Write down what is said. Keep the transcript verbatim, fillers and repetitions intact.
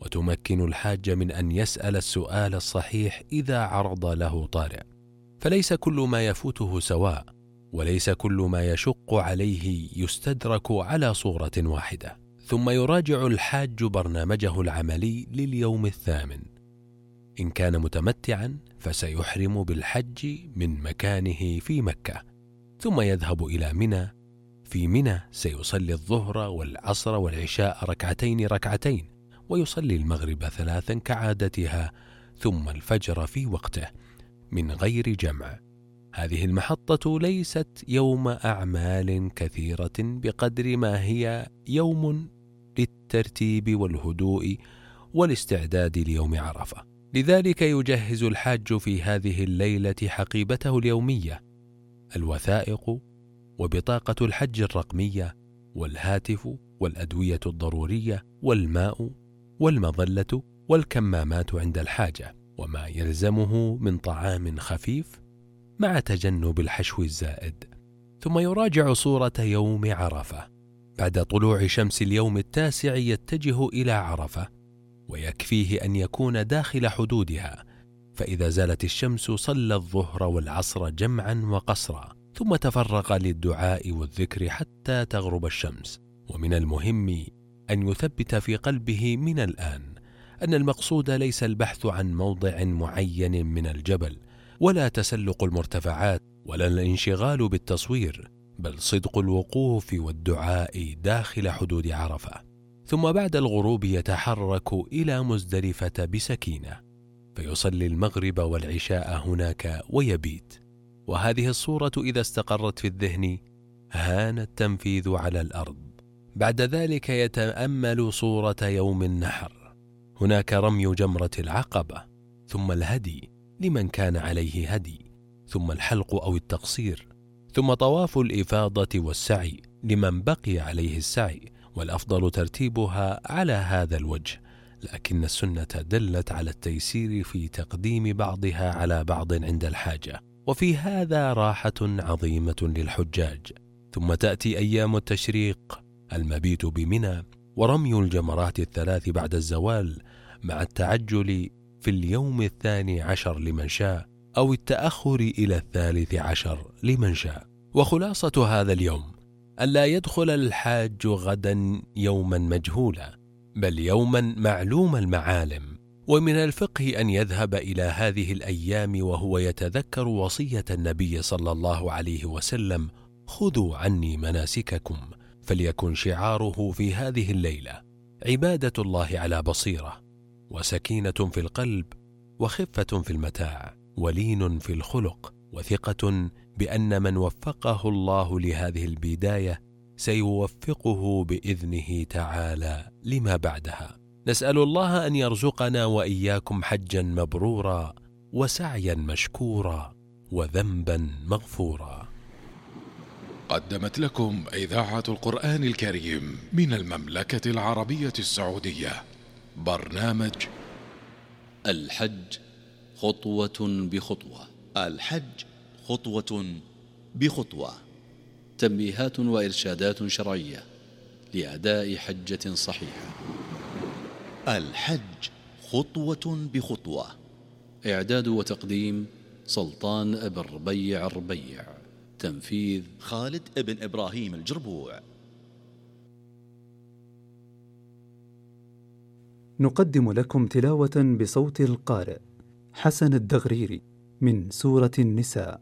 وتمكن الحاج من أن يسأل السؤال الصحيح إذا عرض له طارئ. فليس كل ما يفوته سواء، وليس كل ما يشق عليه يستدرك على صورة واحدة. ثم يراجع الحاج برنامجه العملي لليوم الثامن. إن كان متمتعا فسيحرم بالحج من مكانه في مكة، ثم يذهب إلى منى. في منى سيصلي الظهر والعصر والعشاء ركعتين ركعتين، ويصلي المغرب ثلاثا كعادتها، ثم الفجر في وقته من غير جمع. هذه المحطة ليست يوم أعمال كثيرة بقدر ما هي يوم للترتيب والهدوء والاستعداد ليوم عرفة. لذلك يجهز الحاج في هذه الليلة حقيبته اليومية، الوثائق وبطاقة الحج الرقمية والهاتف والأدوية الضرورية والماء والمظلة والكمامات عند الحاجة، وما يلزمه من طعام خفيف مع تجنب الحشو الزائد. ثم يراجع صورة يوم عرفة. بعد طلوع شمس اليوم التاسع يتجه إلى عرفة، ويكفيه أن يكون داخل حدودها، فإذا زالت الشمس صلى الظهر والعصر جمعا وقصرا، ثم تفرغ للدعاء والذكر حتى تغرب الشمس. ومن المهم أن يثبت في قلبه من الآن أن المقصود ليس البحث عن موضع معين من الجبل، ولا تسلق المرتفعات، ولا الانشغال بالتصوير، بل صدق الوقوف والدعاء داخل حدود عرفة. ثم بعد الغروب يتحرك إلى مزدلفة بسكينة، فيصلي المغرب والعشاء هناك ويبيت. وهذه الصورة إذا استقرت في الذهن هان التنفيذ على الأرض. بعد ذلك يتأمل صورة يوم النحر، هناك رمي جمرة العقبة، ثم الهدي لمن كان عليه هدي، ثم الحلق أو التقصير، ثم طواف الإفاضة والسعي لمن بقي عليه السعي، والأفضل ترتيبها على هذا الوجه، لكن السنة دلت على التيسير في تقديم بعضها على بعض عند الحاجة، وفي هذا راحة عظيمة للحجاج. ثم تأتي أيام التشريق، المبيت بمنى ورمي الجمرات الثلاث بعد الزوال، مع التعجل في اليوم الثاني عشر لمن شاء، أو التأخر إلى الثالث عشر لمن شاء. وخلاصة هذا اليوم ألا يدخل الحاج غدا يوما مجهولا، بل يوما معلوم المعالم. ومن الفقه أن يذهب إلى هذه الأيام وهو يتذكر وصية النبي صلى الله عليه وسلم: خذوا عني مناسككم، فليكن شعاره في هذه الليلة عبادة الله على بصيرة، وسكينة في القلب، وخفة في المتاع، ولين في الخلق، وثقة بأن من وفقه الله لهذه البداية سيوفقه بإذنه تعالى لما بعدها. نسأل الله أن يرزقنا وإياكم حجا مبرورا، وسعيا مشكورا، وذنبا مغفورا. قدمت لكم إذاعة القرآن الكريم من المملكة العربية السعودية برنامج الحج خطوة بخطوة. الحج خطوة بخطوة. تنبيهات وإرشادات شرعية لأداء حجة صحيحة. الحج خطوة بخطوة. إعداد وتقديم سلطان بن ربيع الربيع. تنفيذ خالد بن إبراهيم الجربوع. نقدم لكم تلاوة بصوت القارئ حسن الدغريري من سورة النساء.